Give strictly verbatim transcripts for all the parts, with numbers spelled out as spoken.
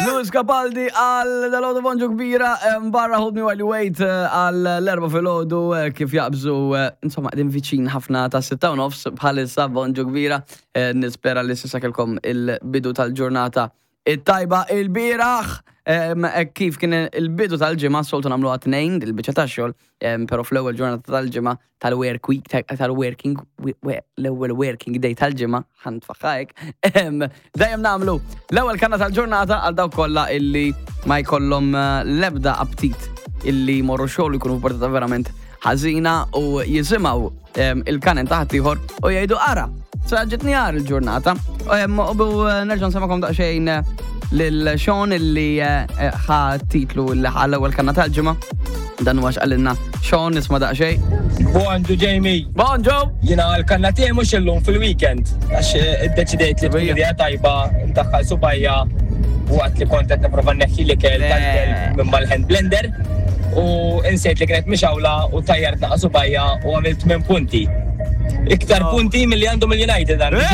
Lewis Capaldi għal dalgħodu. Bonġu kbira, em, barra Hold Me While You Wait eh, għal l-erbgħa filgħodu eh, kif jaqbżu, eh, insomma, qegħdin viċin ħafna ta' sitta u nofs bħalissa. Bonġu kbira, eh, nispera li s'issa kellkom il-bidu tal-ġurnata it-tajba. Il-bieraħ, em, eh, kif kien il-bidu tal-ġimgħa, soltu nagħmlu għat-tnejn, il-biċċa tax-xogħol, em, pero fl-ewwel ġurnata tal-ġimgħa tal-work week, tal-working, l-ewwel working day tal-ġimgħa, ħa ntfagħha, em, dejjem nagħmlu l-ewwel kanna tal-ġurnata għal dawk kollha illi ma jkollhom eh, l-ebda aptit illi morru xogħol, jkunu f'portata verament ħażina u jisimgħu em, il-kanen ta' ħaddieħor u jgħidu, "Ara, sa ġitni għar il-ġurnata." Em, U eh, nerġa' nsemmagħkom daqsxejn eh, lil Sean illi eh, eh, ħa titlu li ħa l-ewwel kanna tal-ġimgħa. Dan huwa x'qalilna Sean, nisma' daqsxejn. Bonġu, Jamie. Bonġu! Jiena l-kanna tiegħi mhux illum, fil-weekend, għax eh, iddeċidejt li tkun idea tajba ndaħħal subgħajja waqt li kont qed nipprova nneħħi l-ikel Le. tal-kelb minn mal-hand blender u insejt li kienet mixgħula u tajjart naqa subgħajja u għamilt minn punti. Iktar Oh. punti milli għandhom il-United għandi.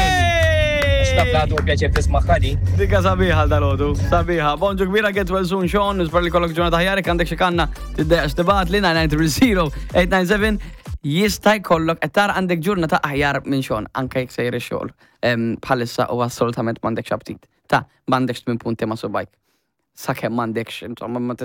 Għax naf li għadu pjaċir tisma' di. Dika sabiħa dalgħodu, sabiħa. Bonġu kbira, get well soon, Sean, nispera li kollok ġurnata aħjar. Għandek xi kanna, tiddejjaqx tibgħatli nine nine three zero eight nine seven. Jista' jkollok qed tara għandek ġurnata aħjar minn Sean, anke jekk sejjer ix-xogħol. Em, Bħalissa u assolutament m'għandekx aptit. Ta' m'għandekx tmien punti ma' subgħajk. Sakemm m'għandekx, insomma, ma